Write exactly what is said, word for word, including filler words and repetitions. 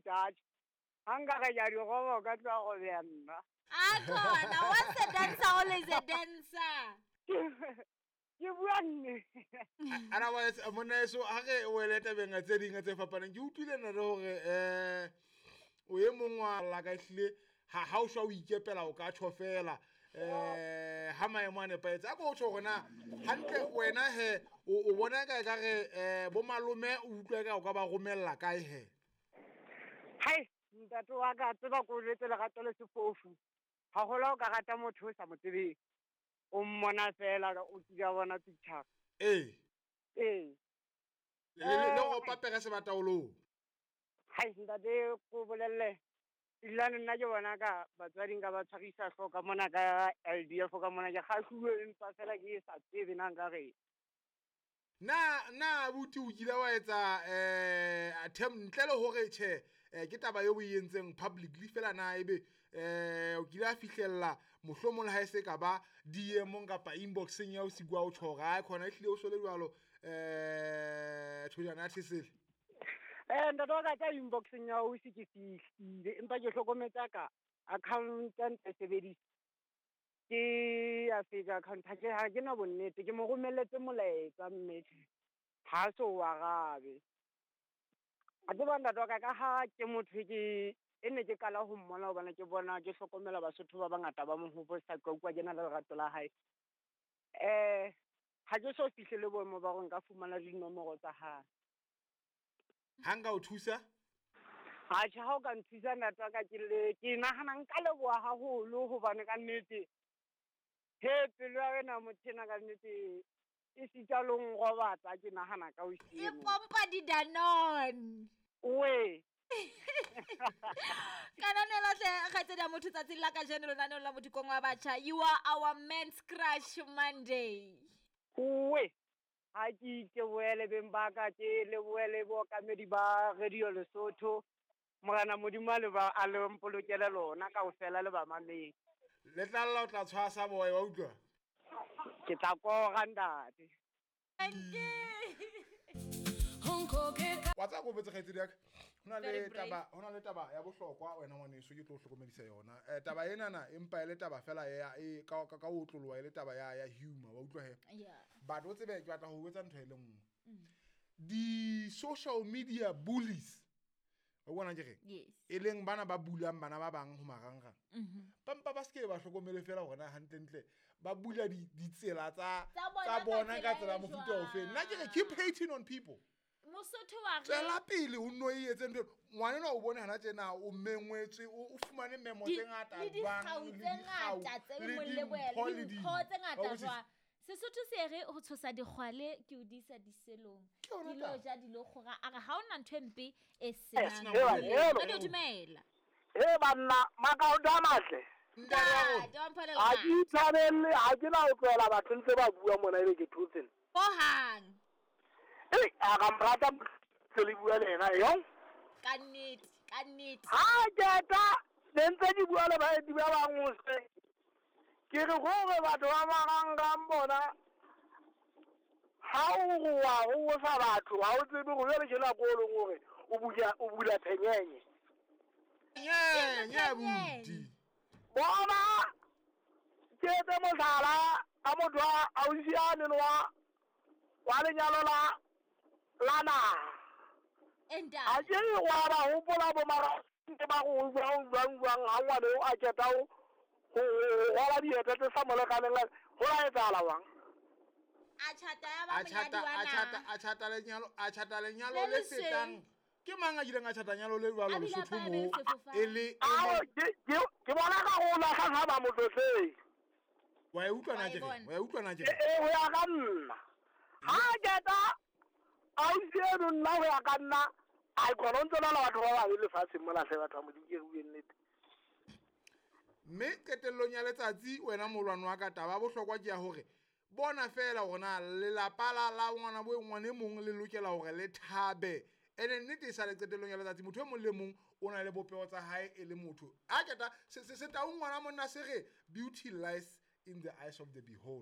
atjhe ha nka re ke a di roba o ka tloha robeha nna. Akhona, once a dancer, always a dancer. Ke bua nnete. Otherwise, monna eso ha re wele tabeng tse ding tse fapaneng, ke utlwile nna le hore eh o e mong wa la ka ehlile ha ha o shwa o ikepela o ka tjho fela eh ha maemo a nepahetse. A ko tjho hore na hantle wena he o o bona ka ekare eh bo malome o utlwa ka o ka ba romella kae he? Hai, ntate wa ka tseba ko jwetse lerato le sefofu. Haholo ha o ka rata motho o sa mo tsebeng, o mmona fela o kile wa bona picture. Ee. Ee. Le le le go papere sebataolong. Hai, ntate ko bolelle. Ebilane nna ke bona ka batswadi nka ba tshwarisa hlooho ka mona ka L D F ka mona ke kgahluwe empa fela ke sa tsebe na nka reng. Na na abuti o kile wa etsa eh attempt ntle le hore tjhe eh, ke taba eo o e entseng publicly fela na ebe eh o kile a fihlella mohlomong le ha e se ka ba D M kapa inboxeng ya o sikwa o tjho hore ha khona ehlile o sole jwalo eh thojana ya thesele. Eh ntate wa ka tsa inboxeng ya o se ke fihlile empa ke hlokometse ka account ya ntse sebedisa ke ya fake account ha ke ha ke na bonnete ke mo romelletse molaetsa mme ha so o arabe. A tseba ntate wa ka ka ha ke motho ke e ne ke qala ho mmona hobane ke bona ke hlokomela Basotho ba bangata ba mo hoposa ka utlwa ke na le lerato la hae. Eh ha ke so fihlele boemo ba hore nka fumana dinomoro tsa hae. Ha nka o thusa? Atjhe, ha o ka nthusa ntate wa ka ke le ke nahana nka leboha haholo hobane ka nnete he pelo ya wena motho ena ka nnete e sita le ho nrobatsa ke nahana ka o E siemo. pompa di-Danone. We. Kananelo hle kgaitsedi ya motho tsatsing la kajeno lenaneong la Modikong wa Batjha. You are our men's crush Monday. We. Ha ke itebohele beng ba ka, ke lebohele bookamedi ba Radio Lesotho. Morena Modimo a le ba, a le mpolokele lona kaofela le bamamedi. Le tla lla o tla tshwasa boy, wa utlwa? Ke tla kora ntate. Thank you. Wa tseba ko botse kgaitsedi ya ka? Ho na le Very brave. taba, ho na le taba ya bohlokwa wena ngwaneso ke tlo o hlokomedisa yona. Eh, taba enana empa e le taba fela ya, e, ka, ka, ka ho otloloha e le taba ya, ya humor, wa utlwa he? Yeah. But o tsebe ke batla ho botsa ntho e le nngwe. Mm. Di-social media bullies, wa bona ke reng? Yes. E leng bana ba bulang bana ba bang ho marangrang. Mm-hmm. Ba mpa ba se ke ba hlokomele fela hore na hantlentle ba bula di-, ditsela tsa, Tsa bona tsa ka bona ka tsela tsela e mofuta ofe. jwang? Nna ke re keep hating on people. Mosotho wa re Tswela pele o nno e etse ntho. Ngwanenwa o bone hana tjena o mengwetswe, o, o fumane memo Di- tse ngata le jwang, dikgau le tse dikgau, ngata tse le mo lebohela, dimpho le le dimpho di- tse ngata Wa utlwisisa? jwang. Sesotho se re ho tshosa dikgwale ke o di isa diselong. Ke yona Di lo taba. ja, di lo kgora. A re ha hona ntho e mpe e E senang senang molemo. molemo. Radio dumela. Eh, banna, makaoto a matle. Ntate wa rona. Ntate wa Mpholela Ha ke Matle. itshwarelle, ha ke na ho tlohela batho ntse ba bua mona ebe ke thotse. Hohang. Ei, a ka mrata se le bua le yena, yong? Ka nnete, ka nnete. Ha ke ta, ne ntse ke bua le baeti ba bang hoseng. Ke re hore batho ba marangrang bona, ha o re wa hosa batho, ha o tsebe hore jwale ke nako e leng hore o bula, o bula phenyenye. Nyenye, abuti. Bona, ke etse mohlala ka motho wa ausi a neng wa, wa lenyalo la, la naha. Enta. Ha ke re wa ba hopola bo mara ke ba go jwang, jwang, jwang, ha ngwana eo a qeta ho, ho, ho rwala dieta tse sa mo lekaneng la, ho la etsahala jwang? A tjhata ya ba A tjhata, monyadi wa a tjhata, naha. a tjhata lenyalo, a tjhata lenyalo Le le lesweu. fetang. Ke mang a kileng a tjhata nyalo le jwalo A bile a Lesotho palame moo? sefofane. E le, e Ao, le ke, ke, ke bona ka ho lahla ha ba motlotleng. Wa e utlwa na Wa e ke reng? bona. Wa e utlwa na ke E, reng? e, ho ya ka nna. Ha ke ta ausi eno nna ho ya ka nna, ai khona o ntse na le batho ba babe lefatsheng mona hle batho ba Modimo, ke re bue nnete. Mme qetellong ya letsatsi wena molwane wa ka, taba ya bohlokwa ke ya hore bona fela hore na lelapa la, la ngwana bo ngwana e mong le lokela hore le thabe. Ene nnete e sale qetellong ya letsatsi, motho e mong le mong o na le bopeho tsa hae e le motho. A keta se, se, se tau ngwana monna se re beauty lies in the eyes of the beholder.